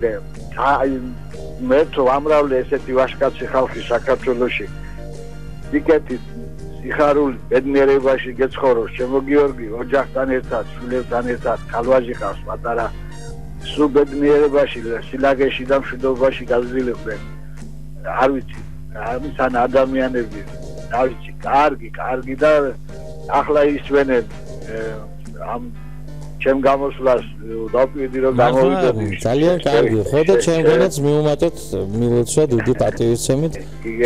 მე თუ ამრავლე ესეთი ვაჟკაცი ხალხი საქართველოში იქეთი სიხარული ბედნიერებაში გეცხოვროს ჩემო გიორგი ოჯახთან ერთად შვილებთან ერთად ხალვაჟი ხავს პატარა სულ ბედნიერებაში სილაგეში და მშვიდობაში გაზრდილებდნენ არ ვიცი ამისან ადამიანები არ ვიცი კარგი და ახლა ისვენენ ამ ჩემ გამოსვლას დავპირდი რომ გამოვიდოდი ძალიან კარგი ხო და ჩემგანაც მიუმატოთ მილოცვა დიდი პატივისცემით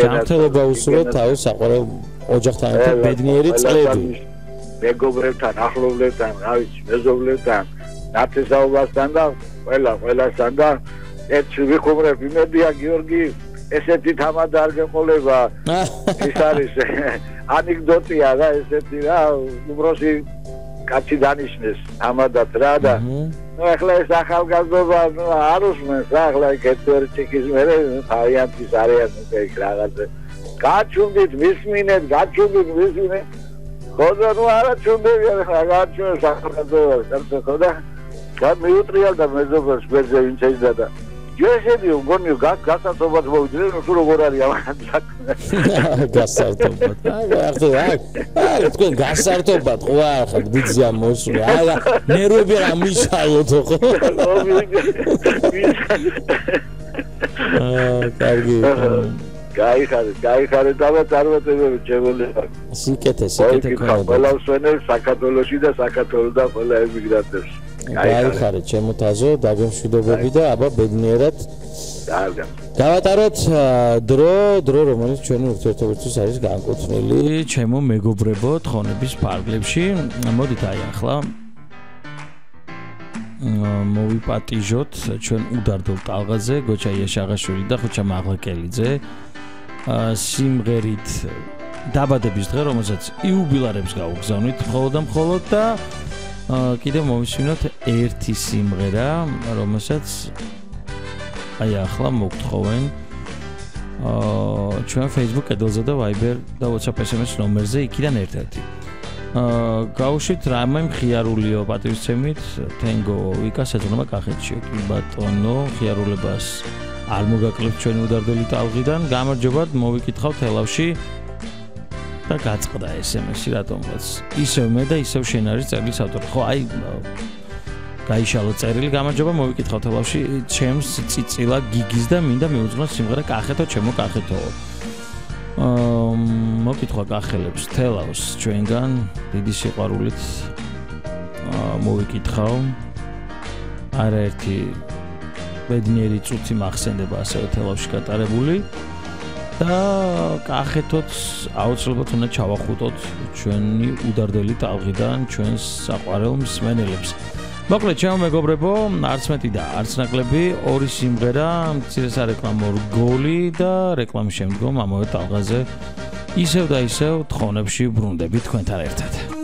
ჯანმრთელობა უსურვოთ თავის საყვარელ ოჯახთან ერთად ბედნიერი წლები მეგობრებთან ახლობლებთან რა ვიცი მეზობლებთან ნათესაობასთან და ყველასთან და ერთში ვიხუმრებ იმედია გიორგი ესეთი თამადა არ გეყოლება ის არის ანეკდოტია რა ესეთი რა უბრალოდ კაცი დანიშნეს ამადად რა და ნუ ახლა ეს ახალგაზრდობა არ უსმენს რა ახლა კეთვერი ჩიქის მერე თავიანთის არიან ეგ რაღაცა გაჩუნდით მისმინეთ ხოდა ნუ არა ჩუნდებიან ახლა გაჩუნდეს ახალგაზრდობა ხო და მიუტრიალდა მეზობელს გვერდზე ვინც ეძდა და ჯეშედი გონიო გასართობად მოვიდნენ თუ როგორ არის ამან საქმე გასართობად აი თქვენ გასართობად ხო ახლა ბიძია მოსული აი ნერვები რა მიშალოთ ხო კარგი გაიხარე და წარმატებები ჩემოლებო სიკეთე ყველა ვსვენებ საქართველოში და საქართველოსთან ყველა ემიგრანტებს გაიხარე ჩემოთაზო დაგემშვიდობები და აბა ბედნიერად გავატაროთ დრო რომელიც ჩვენი ურთიერთობისთვის არის განკუთვნილი ჩემო მეგობრებო თხოვნების ფარგლებში მოდით აი ახლა მოვიპატიჟოთ ჩვენ უდარდო ტალღაზე გოჩა იაშაღაშვილი და ხუჩა მაღლაკელიძე სიმღერით დაბადების დღე რომელსაც იუბილარებს გაუგზავნით მხოლოდ და კიდევ მოვისმინოთ ერთი სიმღერა რომელსაც აი ახლა მოგთხოვენ ჩვენ Facebook კედელზე და Viber და WhatsApp SMS ნომერზე იქიდან ერთ-ერთი გავუშვით რამე მხიარულიო პატივისცემით თენგო ვიკას ეძღვნება კახეთში კი ბატონო მხიარულებას არ მოგაკლებთ ჩვენი უდარდელი ტალღიდან გამარჯობათ მოვიკითხავთ ელავში და გაწყდა SMS-ი რატომღაც ისევ მე და ისევ შენ არის წერილის ავტორი ხო აი გაიშალო წერილი გამარჯობა მოვიკითხავთ ელავში ჩემს წიწილა გიგის და მინდა მიუძღვნოს სიმღერა კახეთო ჩემო კახეთო მოკითხვა კახელებს თელავს ჩვენგან დიდი სიყვარულით მოვიკითხავ არაერთი ბედნიერი წუთი მახსენდება ასევე თელავში გატარებული და კახეთოც აუცილებლად უნდა ჩავახუტოთ ჩვენი უდარდელი ტალღიდან ჩვენს საყვარელ მსმენელებს მოკლედ ჩემო მეგობრებო არც მეტი და არც ნაკლები ორი სიმღერა მცირე სარეკლამო რგოლი და რეკლამის შემდგომ ამავე ტალღაზე ისევ და ისევ თხოვნებში ბრუნდები თქვენთან ერთად